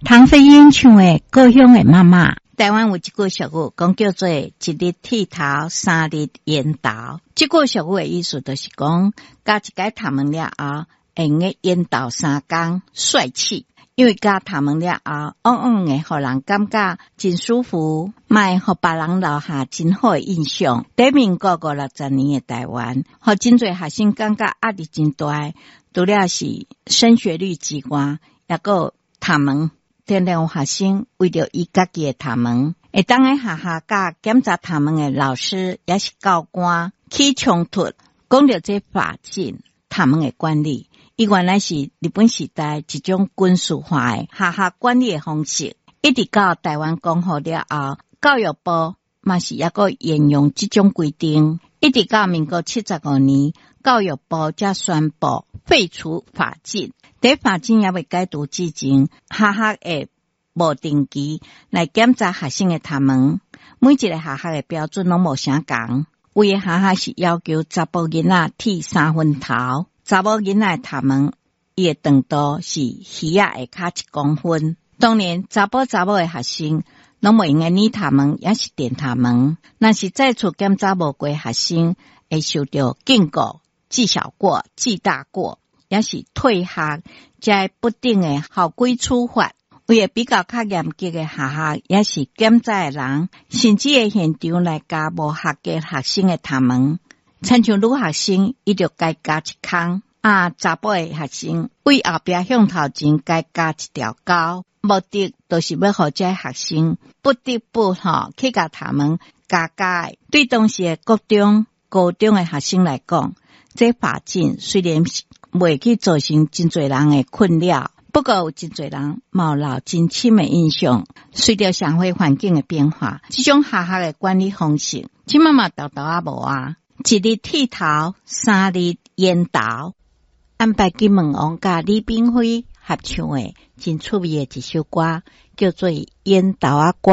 唐飛英唱的《故鄉的媽媽》。台灣有一句俗語，講叫做“一日剃頭，三日緣投”。這句俗語的意思就是講，鉸一擺頭毛了後，會用得緣投三工，帥氣。因為鉸頭毛了後，往往會予人感覺真舒服，嘛會予別人留下真好的印象。佇民國五六十年的台灣，予真濟學生感覺壓力真大，除了是升學率之外，抑閣有頭毛。常常有學生為著伊家己的頭毛，會當佇學校佮檢查頭毛的老師，抑是教官起衝突。講著這髮禁頭毛的管理，伊原來是日本時代一種軍事化的學校管理的方式，一直到台灣光復了後，教育部嘛是猶閣沿用這種規定，一直到民國75年，教育部才宣布廢除髮禁。佇髮禁猶未解除之前，學校會無定期來檢查學生的頭毛，每一个學校的標準攏無相仝。有的學校是要求查埔囡仔剃三分頭，查某囡仔的頭毛，伊的長度是耳仔下跤1公分。當然，查埔查某的學生攏袂用得染頭毛，抑是電頭毛。若是再次檢查無過學生，會受著警告、記小過、記大過，抑是退學，這不等的校規處罰。有的比較較嚴格的學校，抑是檢查的人，甚至會現場來鉸無合格學生的頭毛。親像女學生，伊就共鉸一空；啊，查埔的學生對後壁向頭前共鉸一條溝。目的就是欲予這學生不得不吼去共頭毛鉸鉸。對當時的國中、高中的學生來講，這髮禁雖然袂去造成真濟人的困擾，不過有真濟人嘛留真深的印象。隨著社會環境的變化，這種學校的管理方式，這馬嘛沓沓仔無啊。一日剃頭，三日緣投。安排金門王佮李炳輝合唱的真趣味的一首歌，叫做《緣投仔歌》。